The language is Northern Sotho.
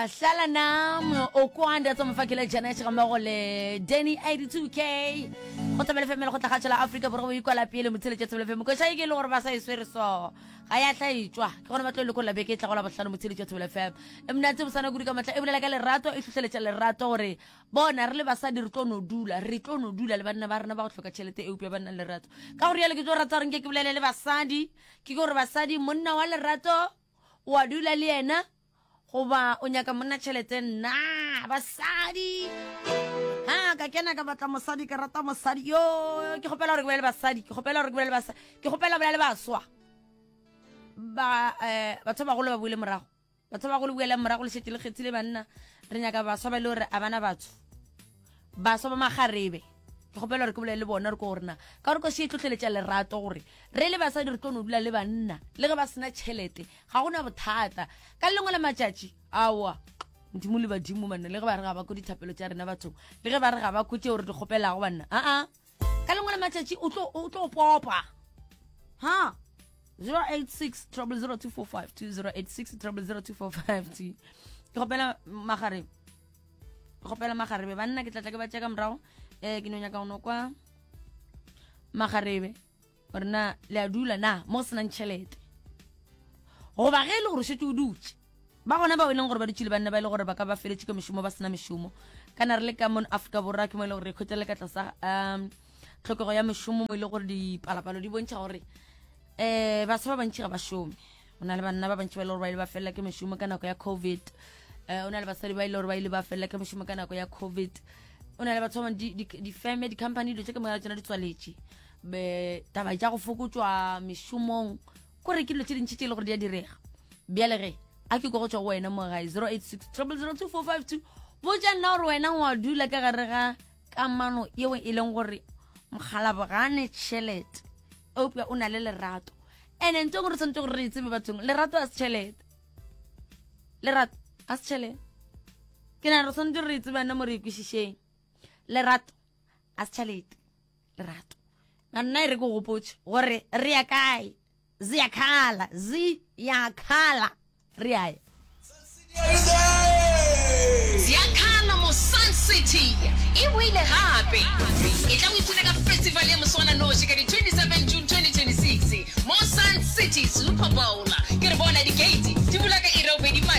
Hlala Nam, Okwanda tsa mofakela Janet ga mmogo le Danny 82K. Go Thobela FM le go tlagatšo la Afrika Borwa go ikwala pele motsheletše Thobela FM. Koša e ke e le gore ba sa e swere so. Ga ya hlaetšwa. Ke gona ba tlo lekolla beke e tlago la bohlano motsheletše Thobela FM. E monate bosana kudu ka matla e bolela ka lerato e hlohleletša lerato gore bona re le basadi re tlo no dula re tlo no dula le banna ba rena ba go hloka tšhelete eupša ba nna le lerato. Ka gore yalo ke tlo rata gore nke ke bolele le basadi ke gore basadi monna wa lerato wa dula le yena goba o nyaka monna tšhelete nna basadi ha ka kena ka batla mosadi ke rata mosadi yo ke kgopela gore ke bolele basadi ke kgopela gore ke bolele basadi ke kgopela bolele baswa ba eh batho ba bagolo ba buile morago batho ba bagolo buela morago le šetše le kgethile banna re nyaka baswa ba e le gore a bana batho baswa ba magarebe ke kgopela gore ke bolele le bona re ko gore na ka gore koši e tlhotlheletša lerato gore re le basadi re tlo no dula le banna le ge ba sena tšhelete ga gona bothata ka lengwe la matšatši aowa modimo le badimo banna le ge ba re ga ba ko dithapelo tša rena bathong le ge ba re ga ba ko tšeo re di kgopelago banna aa ka lengwe la matšatši o tlo popa ha 086 0002452 086 0002452 ke kgopela magareng ke kgopela magarebe banna ke tlatla ke ba tšea ka morago um ke no nyaka go no kwa magarebe gore na le a dula na mo go senang tšhelete goba ge e le gore o šetse o dutše ba gona bao e leng gore ba dutše le banna ba e le gore ba ka ba feletše ka mešomo ba sena mešomo kana re le ka mono Afrika Borwa ke mo e le gore re khwetša le ka tlasa um tlhokego ya mešomo mo e le gore dipalapalo di bontšha gore um baswa ba bantši ga ba šome o na le banna ba bantši ba e le gore ba ile ba felela ke mešomo ka nako ya covid um o na le basadi ba e le gore ba ile ba felela ke mešomo ka nako ya covid o na le batho ba bangwe difeme di-company dilo tše ka moka tsona di tswaletše taba tša go fokotšwa mešomong kore ke dilo tše dintši tše e le gore di a direga bjale ge a ke ko go tšwa go wena mo gae 086 000 2452 botša nna gore wena wa dula ka gare ga kamano yeo e leng gore mokgalabogane tšhelete eupša o na le lerato ene ntse gore tshwanetse gore re e tsebe bathong lerato a se tšhelete lerato a se tšhelete ke na re tshwanetse re e tsebe nna mo re ikwešišeng lerato a se tšhelete lerato na nna e re ke gopotse gore re ya kae ziyakhala ziyakhala re ya ya Ziyakhala mo Sun City e boile gape. Etla o ipshine ka festival ya moswananoši ka di 27 June 2026 mo Sun City Super Bowl.